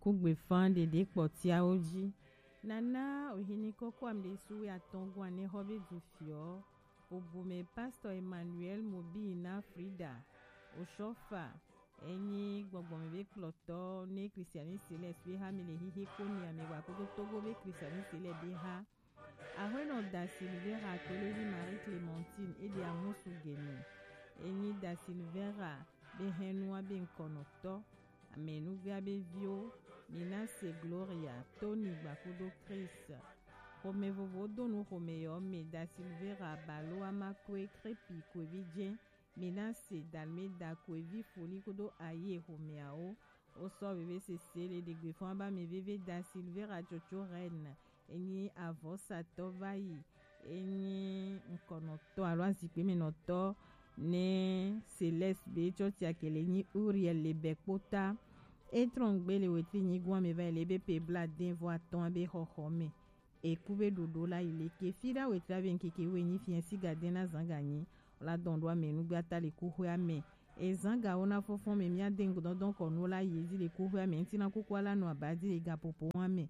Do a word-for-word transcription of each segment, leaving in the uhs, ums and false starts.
Kugbe fan ɖeɖe kpɔtiawo ji. Nana ohini kɔkɔ amɖe suwe atɔn gwan ne xɔ be du fiɔ. Obume Pastor Emmanuel Mobina Frida Oshofa enyi gbɔgbɔme be kplɔtɔ ne Christianiste lɛ be ha mi le hihi ko ni ame wa kodo Togo be Christianiste lɛ be ha. Ahuenɔ Da Silveira kple vi Marie Clementine ede amusu gene. Enyi Da Silveira be hɛnua be ŋkɔnɔtɔ. Amenuvia be viwo, Minase Gloria, Tony Gbakudo Chris. Xome vovo do nu xome yɔ me Da Silveira Balo Amakwe Krepi Kwevi Jɛ. Mina se dalme da ko evi foli kodo aye xomeawo. Wo sɔ veve sese le ɖegbe fɔn aba me veve Da Silveira Tsotso Reine. Enyi avɔsatɔ va yi. Enyi ŋkɔnɔtɔ alo azikpe me nɔtɔ ne Céleste be tsɔ tia kele nyi Uriel le bɛ kpota. E trɔn gbe le wetri nyi gwan me va yi le be pe bla den vɔ atɔn be xɔxɔ me. Eku be ɖoɖo la yi leke fi ɖa wetri abe ŋkeke wo enyi fiɛ si ga den na zan ga nyi. La dɔn ɖo ame nugbe ata le kuxwe ame. Ezan ga wo na fɔfɔn me mia den dɔndɔn kɔ nu la yi ezi le kuxwe ame ŋti na kuku ala nu aba di le ga popo wa me.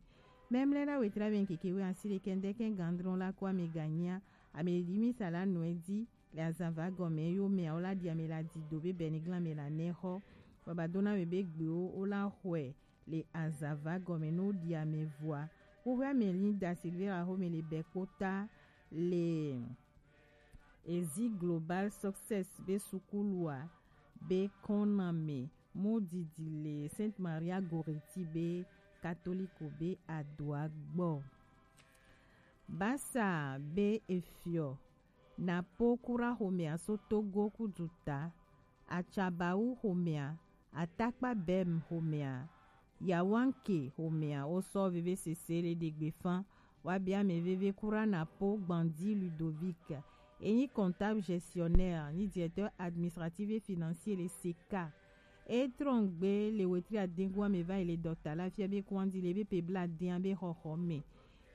Mɛmlɛ ɖa wetri abe ŋkeke wo asi le kɛndɛ kɛ gandrɔn la ko ame ga nyia. Ame di mi sa la nu edi le azan va gɔme yo me awo la di ame la di do be bɛ ni glan me la nɛ xɔ. Baba dona me be gbe wo wo la xɔe le azava gɔme no ɖi ame vɔa. Woƒe ame li Da Silveira xome le bɛ kpota le Ezi Global Success be sukulua be kɔname mo didi le Sainte Maria Goretti be katoliko be adoa gbɔ. Basa be efiɔ na po kura xomea so Togo kuduta, Atsabawu xomea, Atakpa Bem xomea, Yawanke xomea, wo sɔ veve sese le ɖegbe fan, wa bia me veve kura na po Gbandi Ludovic, enyi comptable gestionnaire, ni directeur administratif et financier le seka. E trɔn gbe le wetri adengu ame va yi le dɔta la fia be kuandi le be pe bla dia be xɔxɔ me.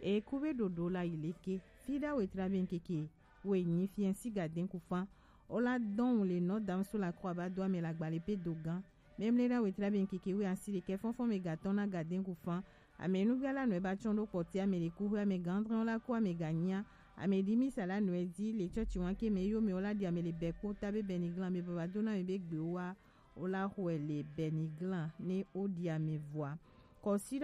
E ku be ɖoɖo la yi leke, fi ɖa wetri abe ŋkeke, wo enyi fiɛ si ga den ku fan. O la dɔn le nɔ dam so la kɔ aba do ame la gbale pe do gan. Mɛmlɛ ɖa wetri abe ŋkeke wo asi le kɛ fɔnfɔn me ga tɔn na ga den ku fan. Ame nuvia la nɔe ba tsɔn ɖo kpɔti ame le ku hwe ame gandrɔn la ku ame ga nyia. Ame di mi sa la nɔe di le tsɔtsi wan ke me yo me o la di ame le bɛ kpota be bɛ ni glan me baba do na me be gbe wa. O la xɔe le bɛ ni glan ne o di ame vɔa. Kɔsi